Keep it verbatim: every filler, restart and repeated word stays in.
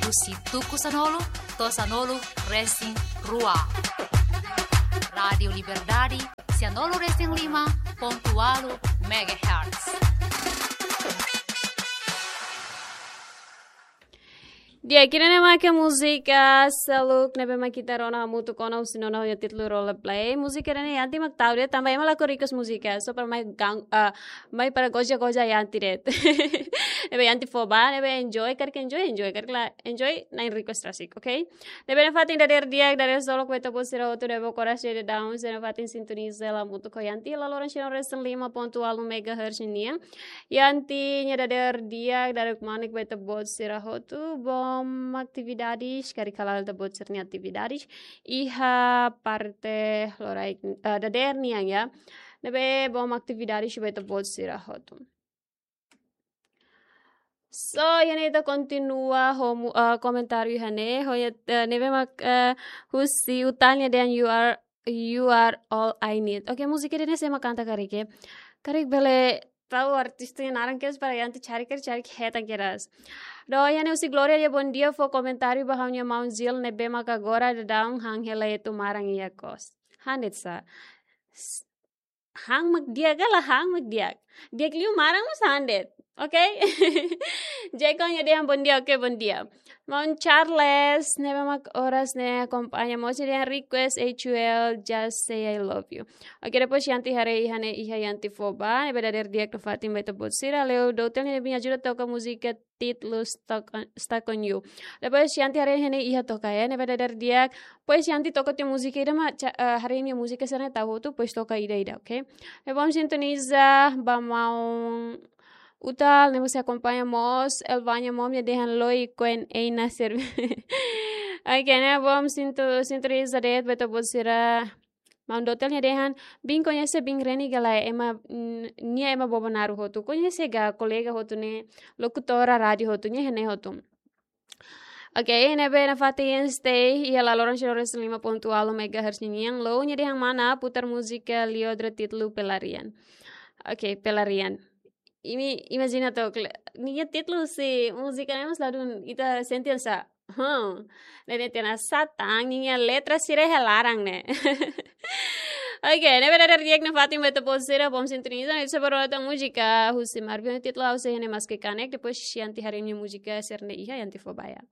Husi tuku sanulu to'o sanulu resin rua. Rádiu Liberdade, sianulu resin lima pontu ualu megahertz. Di'ak, ida-ne'e mak múzika seluk ne'ebé mak ita rona hamutuk ona husi nona ho títulu Roleplay. Múzika ida-ne'e Yanti mak tau de'it, tanba ema la request múzika, só para mai gang, ah, mai para goza-goza Yanti de'it. Ne'ebé Yanti fó ba, ne'ebé enjoy, karik enjoy, enjoy, karik la enjoy, na'in request rasik, ok? Ne'ebé nafatin dadeer di'ak, dadeer solok ba ita-boot sira hotu ne'ebé korasaun daudaun, sira nafatin sintoniza hamutuk ho Yanti, la loron sira resin lima pontu ualu megahertz nian. Yanti nia dadeer di'ak, dadeer kmanek ba ita-boot sira hotu, boom atividades, karik hala'o ita-boot sira-nia atividades iha parte loraik, eh, dadeer nian, ya. Ne'ebé boom atividades ba ita-boot sira hotu. So, iha ne'e ita kontinua ho mu-, eh, komentáriu iha ne'e, ho iha, eh, ne'ebé mak, eh, husi Utal nia dehan you are, you are all I need. Ok, múzika ida-ne'e sé mak kanta karik, eh? Karik bele tau artista nia naran kedas para Yanti cari, karik cari hetan kedas. Doa iha ne'e husi Gloria, dia bom dia, fó komentáriu ba ha'u-nia maun Zil ne'ebé mak agora daudaun han hela etu maran iha kos. Han de'it sá. S-, han mak di'ak ka lae, han mak di'ak. Di'ak liu maran mós han de'it. Ok? Jeko nia dehan bom dia, ok, bom dia. Maun Charles, ne'ebé mak oras ne'e akompaña mós, nia dehan request H U L, Just Say I Love You. Ok, depois Yanti haree iha ne'e, iha Yanti fó ba, ne'ebé dadeer di'ak nafatin ba ita-boot sira, Leo Dotel ne'ebé ajuda toka múzika títulu Stuck on, Stuck on You. Depois Yanti haree iha ne'e iha toka, ya, ne'ebé dadeer di'ak. Depois Yanti toka tiha múzika ida mak ca-, eh, haree nia múzika sira-ne'e tau hotu, depois toka ida-ida, ok? Ne'ebé boom sintoniza ba maun Utal, ne'ebé sei akompaña mós, Elvania Mom nia dehan loi kuen ei na serve. Ok, ne'ebé boom sinto-, sintoniza de'it ba ita-boot sira. Maun Dotel nia dehan, bin koñese bin Reni ka lae, ema, mm, nia ema Bobonaro hotu. Koñese ka kolega hotu ne'e, lokutora rádiu hotu, nia iha ne'e hotu. Ok, ne'ebé nafatin stay iha la loron sira resin lima pontu ualu megahertz nian. Leo nia dehan mana putar múzika Liodra títulu Pelarian. Ok, Pelarian. Imi imajina took, ninia títulu husi múzika ne'e mós ladún ita sente sá. Hmm. Ne'e dehan sá tan, ninia letra sira iha laran ne'e. Ok, ne'ebé dadeer di'ak nafatin ba ita-boot sira, boom sintoniza, ne'e sei ba rona tan múzika husi Marvin títulu Ha'u Sei Iha Ne'e Maski Kanek, depois Yanti haree nia múzika sira-ne'e iha, Yanti fó ba ya.